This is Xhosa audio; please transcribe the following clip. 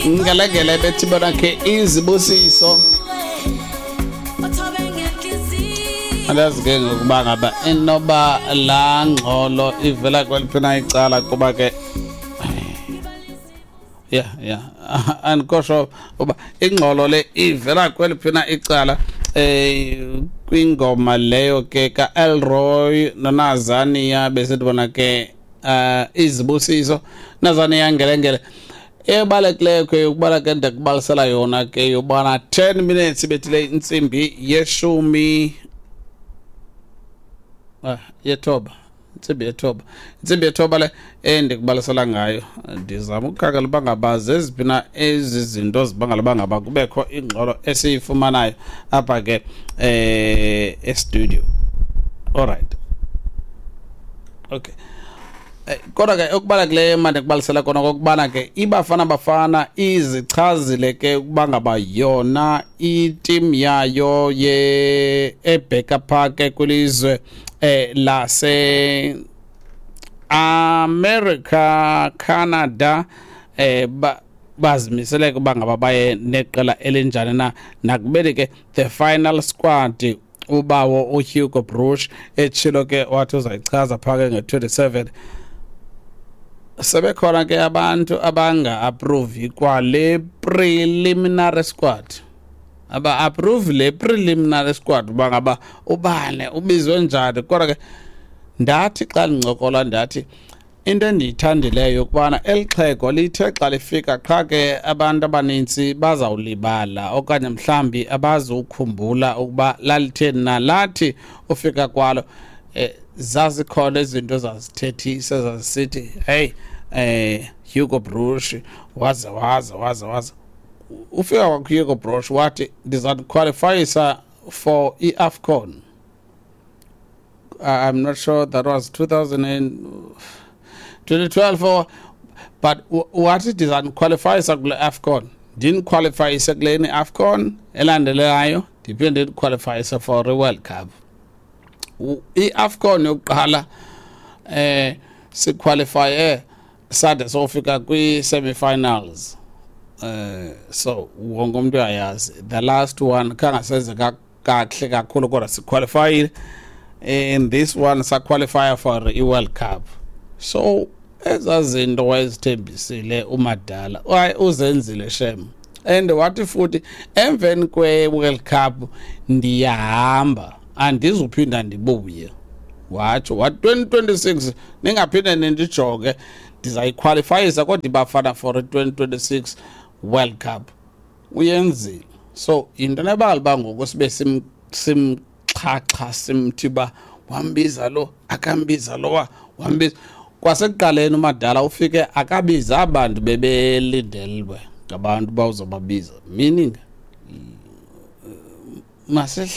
Ngelengele bethi bona ke izibusiso. Andazi ke ngokuba ngaba inoba laa ngxolo ivela kweliphi na icala, kuba ke ya andikho sure uba ingxolo le ivela kweliphi na icala kwingoma leyo ke ka-Elroy noNazania. Besithi bona ke izibusiso, Nazania Ngelengele. Ebalulekileyo ke ukubala ke ndikubalisela yona ke yobana 10 minutes ibethile intsimbi yeshumi, yethoba, intsimbi yethoba, intsimbi yethoba le endikubalisela ngayo. Ndizama ukukhangela uba ngaba zeziphi na ezi zinto zibangela uba ngaba kubekho ingxolo esiyifumanayo apha ke e-studio. Alright, okay. Kodwa ke okubalulekileyo mandikubalisela kona kokubana ke iBafana Bafana izichazile ke ukuba ngaba yona i-team yayo ye ebheka phaa ke kwilizwe lase America, Canada, bazimisele ukuba ngaba baye neqela elinjani na, nakubeni ke the final squad ubawo uHugo Broos etshilo ke wathi uzayichaza phaa ke nge-27. Sebekhona ke abantu abanga-approve kwale preliminary squad, aba-approve le preliminary squad uba ngaba ubane ubizwe njani. Kodwa ke ndathi xa ndincokola, ndathi into endiyithandileyo yokubana eli xhego lithe xa lifika qha ke abantu abanintsi bazawulibala okanye mhlawumbi abazukhumbula ukuba lalitheni na. Lathi ufika kwalo zazikhona izinto zazithethisa, zazisithi, "Hey, Hugo Broos waze waze waze waze." Ufika kwakho Hugo Broos wathi, "Ndiza qualifyisa for i-AFCON." I'm not sure that was 2000 and 2012 or, but wathi, "Ndizaniqualifyisa kule AFCON, ndiniqualifyise kuleni AFCON elandelayo, ndiphinde ndiniqualifyise for i-World Cup." I-AFCON yokuqala siqualifye sade sofika kwi-semi-finals. So wonke umuntu uyayazi the last one khangasenze kakuhle kakhulu, kodwa siqualifyile. In this one saqualify for i-World Cup. So ezaa zinto wayezithembisile umadala, waye uzenzile shem. And wathi futhi emveni kwe-World Cup, "Ndiyahamba, andizuphinda ndibuye." Watsho wathi 2026 ningaphinde nindijonge, ndizayiqualifyisa kodwa iBafana for i-2026 World Cup. Uyenzile. So yinto nebala uba ngoku sibe simxhaxha, simthi uba wambiza lo, akambiza lowa, wambiza. Kwasekuqaleni umadala ufike akabiza abantu bebelindelwe ngabantu uba uzobabiza, meaning masehla.